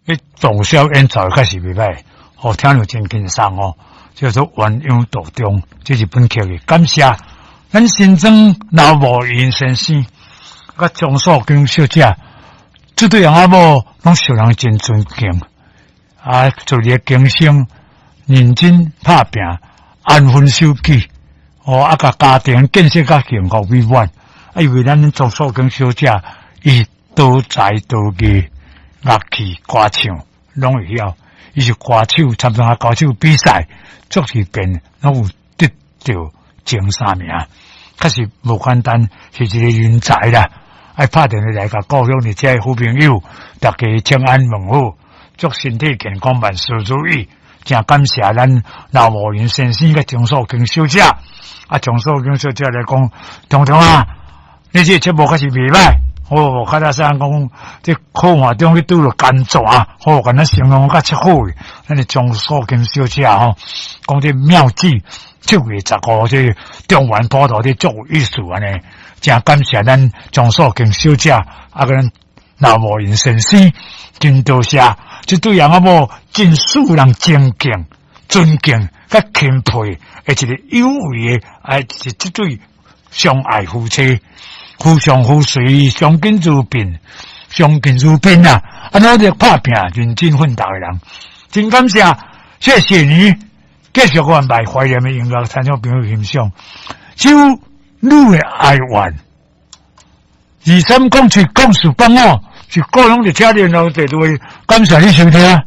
彼洞簫演奏確實袂䆀，哦，聽著真輕鬆哦，叫做鴛鴦道中，這是本曲的。感謝咱新莊劉慕雲先生，佮張素娟小姐，這對翁仔某攏受人真尊敬，啊，做一個經商，認真拍拚，安分守己，哦，啊，共家庭建設較幸福美滿。啊，因為咱張素娟小姐，伊多才多藝。樂器、歌唱攏會曉，伊是歌手，參加歌手比賽，足是便攏有得著前三名，確實無簡單，是一個人才啦。愛拍電話來共故鄉的這個好朋友，大家請安問好，祝身體健康，萬事如意。真感謝咱劉慕雲先生佮張素娟小姐，啊，張素娟小姐來講，中中啊，你這個節目確實袂䆀。哦，較早啥講，這苦海中去拄著甘泉，吼，共咱形容較切好的。咱的張素娟小姐吼，講這妙計9月15，這中元普渡這足有意思按呢，真感謝咱張素娟小姐，啊，佮咱劉慕雲先生，真多謝，這對翁仔某真使人尊敬、尊敬、佮欽佩的一個有為的，啊，是這對相愛夫妻。夫唱婦隨，相敬如賓，相敬如賓啊！啊，努力拍拚，認真奮鬥的人，真感謝，謝謝你，繼續阮來懷念的音樂，聽眾朋友欣賞。只有你的哀怨，23070485，是個人佇遮聯絡電話，感謝你收聽。